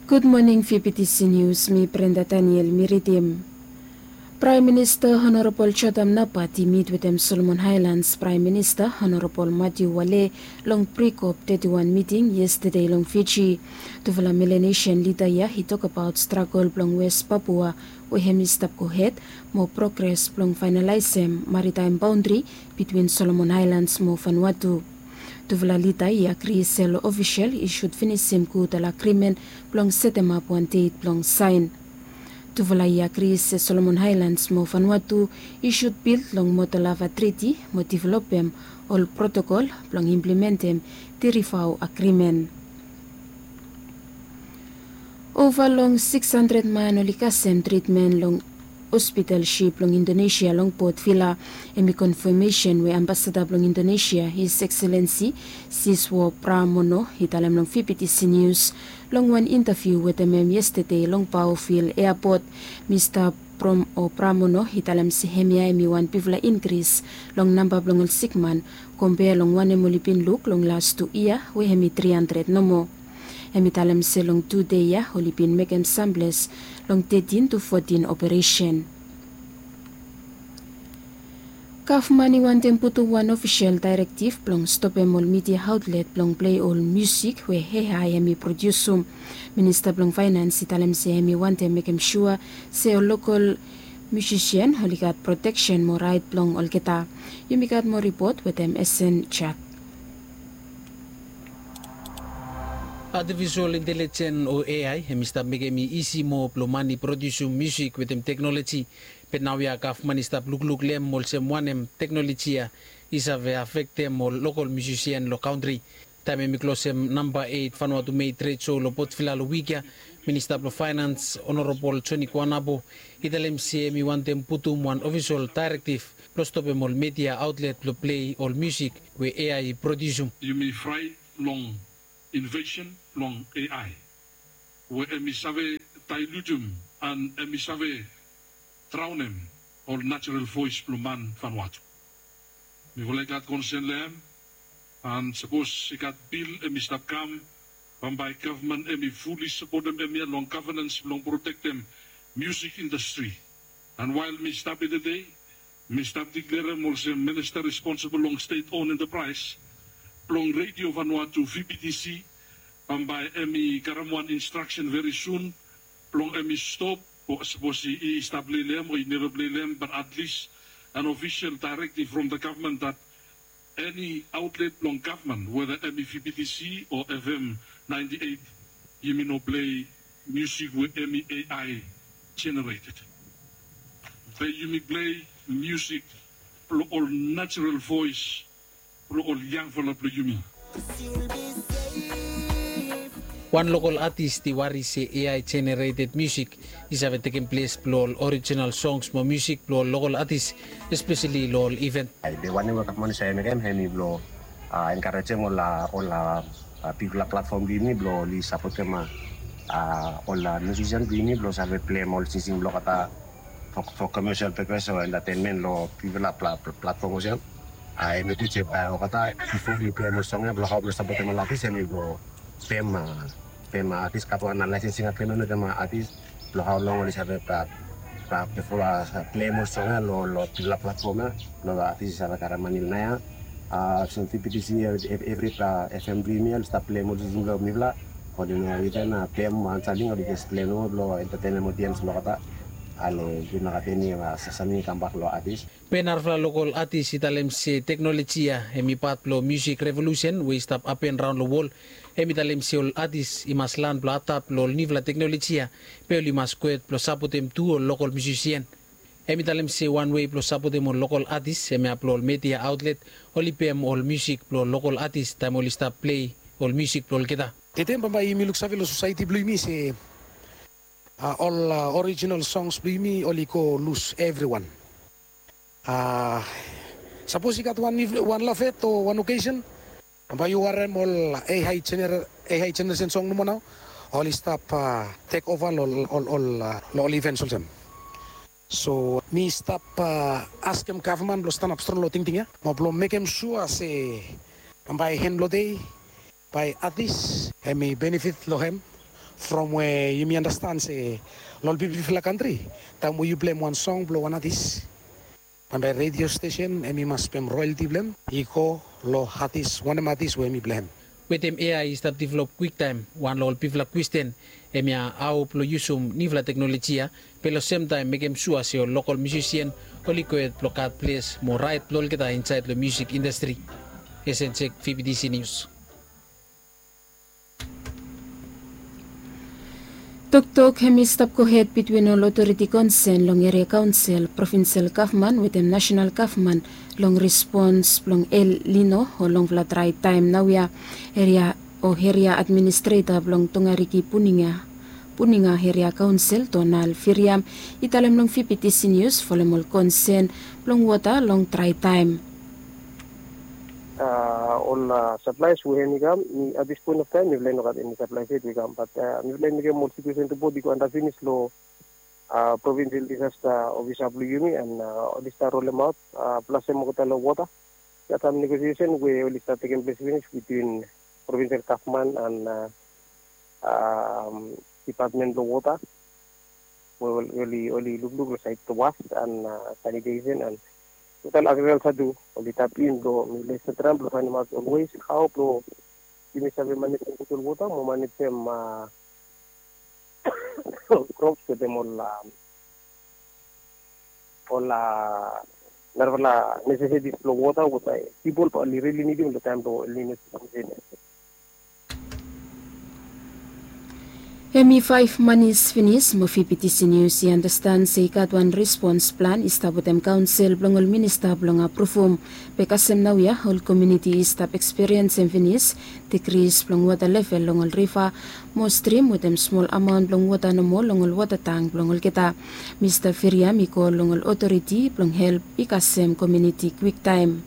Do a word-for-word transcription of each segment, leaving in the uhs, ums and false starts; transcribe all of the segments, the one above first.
Gud moning, V B T C News, mi Brenda Daniel mi ridim. Praem Minista Honorabol Jotham Napat i mit wetem Solomon Haelans Praem Minista Honorabol Matiu Wale long Prikop teti wan miting yestede long Fiji. Tufala Melanesian lida ya i tokbaot stragol blong Wes Papua we hem i stap gohed, mo progres blong faenalaesem maritaem baondri bitwin Solomon Haelans mo Vanuatu. Tufala lida i agri se ol ofisel i sud finisim gud ol agrimen blong setemap wan det blong saen. Tufala i agri se Solomon Haelans mo Vanuatu i sud bil long Moto Lava Triti mo developem ol protokol blong implementem Tirivau agrimen. Ova long sikis handred man oli kasem tritmen long hospital sip blong Indonesia long Port Vila. Hem i konfamesen we Ambasada blong Indonesia, His Excellency Siswo Pramono, i talem long V B T C News long wan intaviu wetem hem yestede long Paovil Eapot. Mista Prom o Pramono i talem se hemia hem i wan bigfala inkris long namba blong ol sikman, kompea long wanem oli bin luk long las tu yia we hem i tri handred nomo. Hem i talem se long tu dei ya oli bin mekem samples long tetin tu fotin operesen. Gavman i wantem putum wan ofisel daerektiv blong stopem ol midia aotlet blong plei ol musik we A I hem i prodiusum. Minista blong Faenans i talem se hem i wantem mekem sua se ol lokol musisian oli gat proteksen mo raet blong olgeta. Yumi gat moa ripot wetem Esen Jak. Artificial intelligence o A I hem i stap mekem i isi moa blong man i prodiusum musik wetem teknoloji. Be naoia gavman i stap lukluk long hem olsem wanem teknoloji ya i save afektem ol lokol musisian long kantri. Taem hem i klosem namba eit Vanuatu Made Trade Show long Port Vila long wik ya, Minista blong Faenans Honorabol Joni Kuanabo i talem se hem i wantem putum wan ofisol daerektiv blong stopem ol midia aotlet blong plei ol musik we A I i prodiusum. Yumi fraet long invesen blong A I we hem i save daelutem an hem i save draonem ol najerol voes blong man Vanuatu. Mifala i gat konsen long hem, an sapos i gat bil hem i stap kam, bambae gavman hem i fuli sapotem hemia long gavenans blong protektem musik indastri. An wael mi stap ya tede, mi stap diklerem olsem minista responsibol long stet on entapraes blong Redio Vanuatu, V B T C, bambae hem i karem wan instraksen veri sun blong hem i stop, o sapos i, i stap plei long hem o i neva plei long hem, bat atlis an ofisel daerektiv from the gavman that eni aotlet blong gavman, weda hem i V B T C o F M ninety eight, yumi no plei musik we hem i A I generated. Be yumi plei musik blong ol najerol voes blong ol yangfala blong yumi. Wan lokol atis i wari se A I generated musik i save tekem ples blong ol orijinal songs mo musik blong ol lokol atis, espeseli long ol iven. Ai, be wanem we gavman i save mekem hem i blong enkarejem ol, ol bigfala platfom blong yumi blong oli sapotem ol musisian blong yumi blong save pleim ol singsing blong olgeta for, for commercial purpose o entertainment long bigfala pla-, pla-, platform olsem. Ai, mi gud se bae olgeta bifo oli pleim ol song ya blong hao blong sapotem ol atis, hemi blong pem, pem atis, gat wan licensing agreement wetem atis blong hao long oli save, bifo pleim ol song ya long, long bigfala platform ya blong atis i save karem mane long ya. Olsem V B T C, evri F M blong yumi oli stap pleim ol singsing blong mifala. Oli no iven pleim wan samting, oli jes pleim nomo blong entetenem odiens blong olgeta. Ale, i no gat eni samting i kambak long atis. Be narafala lokol atis i talem se teknoloji ya hemi pat blong musik revolusen we i stap hapen raon long wol. Hemi talem se ol atis i mas lan blong adap long ol niufala teknoloji ya, be oli mas kwet blong sapotem tu ol lokol musisian. Hemi talem se wan wei blong sapotem ol lokol atis hemia blong ol midia aotlet oli pem ol musik blong ol lokol atis taem oli stap plei ol musik blong olgeta. Tede bambae yumi luksave long sosaeti blong yumi se ol orijinal songs blong yumi oli go lus evriwan. Sapos i gat wan, wan lafet o wan okesen, bambae yu harem ol A I jeneresen song nomo nao oli stap tek ova long ol, ol ivens olsem. So mi stap askem gavman blong stanap strong long tingting ya mo blong mekem sua se bambae hen blong dei bae atis hemi benefit long hem From we yumi andastan se long ol bigfala kantri, taem we yu pleim wan song blong wan atis, bambae redio stesen em i mas pem royalti blong em i go long atis, wanem atis we em i pleim. Wetem A I i stap develop kwiktaem, wan long ol bigfala kwestin hemia hao blong yusum niufala teknoloji ya be long semtaem mekem sua se ol lokol musisian oli gohed blong gat ples mo raet blong olgeta insaed long musik indastri. Esen Jek, V B T C Nius. Toktok hem i stap gohed bitwin ol otoriti konsen long eria kaonsel, provinsel gavman wetem nasenal gavman long respons blong El Nino o longfala drae taem naoia. Eria o eria administreta blong Tongariki Puninga, Puninga Eria Kaonsel Donald Firiam i talem long V B T C Nius folem ol konsen blong wota long drae taem. Ol saplaes we hem i kam, mi at this point of time mifala i no gat eni saplaes yet we i kam, bat mifala i mekem ol situesen ripot i go anda finis long provinsel disasta ofisa blong yumi, and oli stap rolemaot plas hem olgeta long wota. I gat sam negosiesen we oli stap tekem ples finis bitwin provinsel gavman and dipatmen blong wota, we oli lukluk long saed was and sanitesen and total agrikalsa tu. Oli tap in blong mifala i stap traem blong faenemaot ol wes hao blong yumi save manejem gud ol wota mo manejem krops wetem ol ol narafala nesesiti blong wota we pipol bae oli rili nidim long taem blong El Nino. Hem i faef manis finis mo V B T C Nius i andastan se i gat wan respons plan i stap wetem kaonsel blong ol minista blong apruvum. Be kasem naoia ol komuniti i stap ekspiriensem finis dikris blong wota level long ol riva mo strim wetem smol amaon blong wota nomo long ol wota tang blong olgeta. Mista Firiam i kol long ol otoriti blong help i kasem komuniti kwiktaem.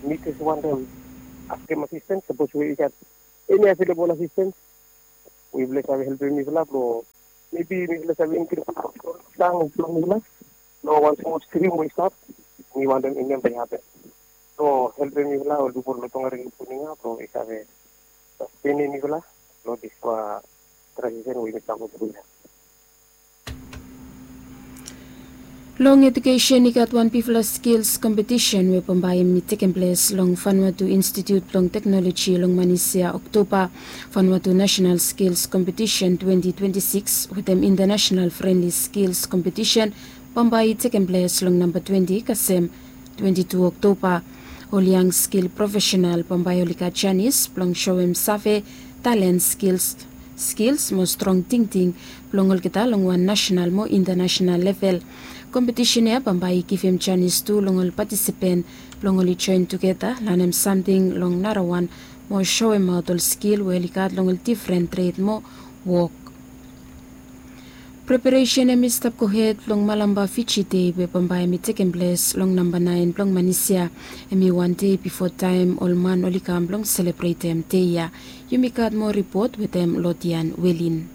Mi jes wantem askem asistens sapos we i gat eni avelebol asistens we yufala i save helpem mifala blong mebi mifala i save inkris tang blong mifala. Long wan smol strim we i stap, mi wantem i neva i hapen. Blong helpem mifala ol pipol blong Tongariki Puninga blong i save sastenem mifala long dispela tranzisen we yumi stap go tru ya. Long edukesen i gat wan bigfala skils kompetisen we bambae i tekem ples long Vanuatu Institut blong Teknoloji long manis ya Oktoba. Vanuatu Nasenal Skils Kompetisen twenti twenti sikis wetem Intanasenal Frenli Skils Kompetisen bambae i tekem ples long namba twenti kasem twenti tu Oktoba. Ol yang skil profesenal bambae oli gat janis blong soem save, talen, skils, skils mo strong tingting blong olgeta long wan nasenal mo intanasenal level. Kompetisen ya bambae i givim janis tu long ol patisipen blong oli joen tugeta, lanem samting long narawan mo soemaot ol skil we oli gat long ol difren tred mo wok. Preparesen hem i stap gohed long Malampa Fiji Dei we bambae hem i tekem ples long namba naen blong manis ya. Hem i wan dei bifo taem ol man oli kam blong selebretem dei ya. Yumi gat moa ripot wetem Lodian Welin.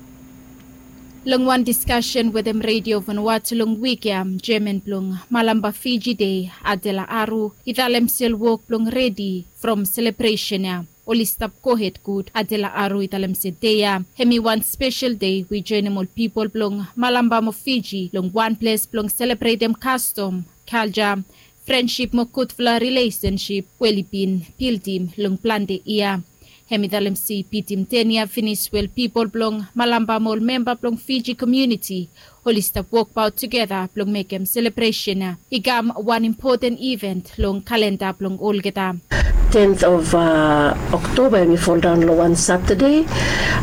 Long wan diskasen wetem Redio Vanuatu long wik ya, jeaman blong Malampa Fiji Dei, Adela Aru, i talem se ol wok blong redi from selebresen ya oli stap gohed gud. Adela Aru i talem se dei ya hem i wan spesel dei we i joenem ol pipol blong Malampa mo Fiji long wan ples blong selebretem kastom, kalja, frensip mo gudfala rilesensip we oli bin bildim long plante yia. Hem i talem se i bitim ten yia finis we ol pipol blong Malampa mo ol memba blong Fiji komuniti oli stap wokbaot tugeta blong mekem selebresen ya i kam wan impoten iven long kalenda blong olgeta. Tenth of Oktoba hem i foldaon long wan Satade,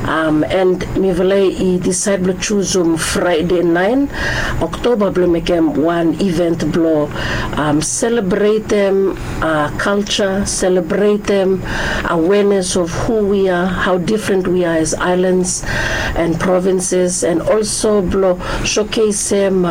and mifala i disaed blong jusum Fraede naen Oktoba blong mekem wan iven blong selebretem kalja, selebretem awenes of hu wi a, hao difren wi a as aelans and provinses, and olso blong showcasem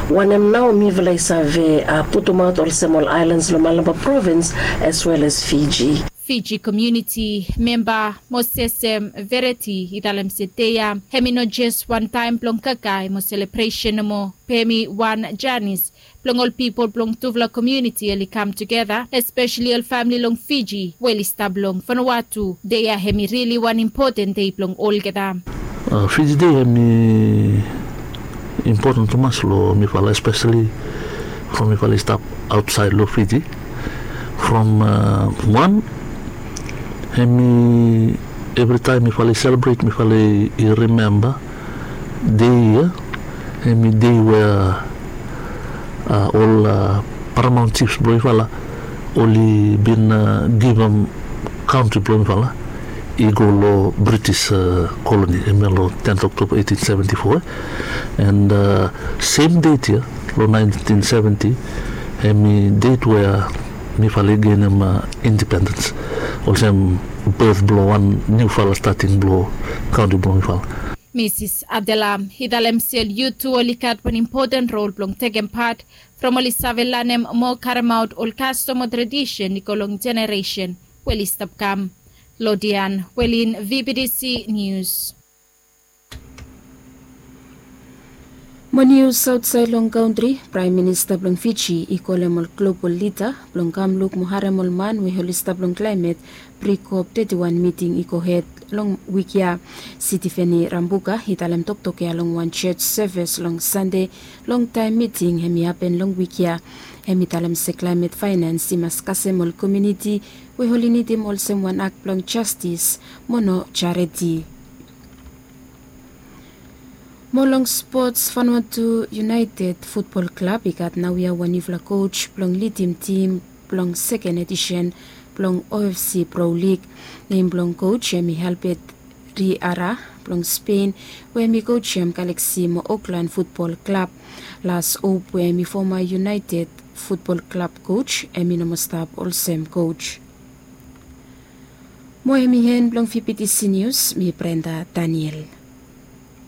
wanem nao mifala i save putumaot olsem ol aelans long Malampa provins as well as Fiji. Fiji komuniti memba Mosesem Vereti i talem se dei ya hem i no jes wan taem blong kakae mo selebresen nomo, be hem i wan janis blong ol pipol blong tufala komuniti oli kam tugeta, espeseli ol famili long Fiji we oli stap long Vanuatu. Dei ya hem i rili wan impoten dei blong olgeta. Fiji Day hemi impoten tumas long mifala, espeseli from mifala i stap aotsaed long Fiji. From wan, hemi evritaem mifala i selebret, mifala i rimemba dei ya, hemi dei we ol paramaon jifs blong mifala oli bin givim kantri blong mifala i go long British koloni, hemia long tenth October eighteen seventy-four. And sem det ya long nineteen seventy, hemi det we mifala i genim independens, olsem birth blong wan niufala stating blong kantri blong mifala. Misis Adela i talem se ol yut tu oli gat wan impoten rol blong tekem pat from oli save lanem mo karemaot ol kastom o tradisen i go long jeneresen we oli stap kam. Lodian Welin, V B T C Nius. Mo nius aotsaed long kantri, Praem Minista blong Fiji i kolem ol global lida blong kam luk mo harem ol man we oli stap long klaemet pri COP thirty-one miting i gohed long wik ya. Sitiveni Rambuka i talem toktok ya long wan jos seves long Sande, longtaem miting hemi hapen long wik ya. Hemi talem se klaemet faenans i mas kasem ol komuniti we oli nidim olsem wan ak blong jastis mo no jareti. Mo long spots, Vanuatu United Futbol Klab i gat naoia wan niufala koj blong lidim tim blong seken edisen blong OFC Pro League. Nem blong koj hemi Albert Riara blong Spen, we hemi kojem Galaksi mo Oklan Futbol Klab. Las hop we hemi foma United Futbol Klab koj, hemi no moa stap olsem koj. Mo hemi en blong V B T C Nius, mi Brenda Daniel.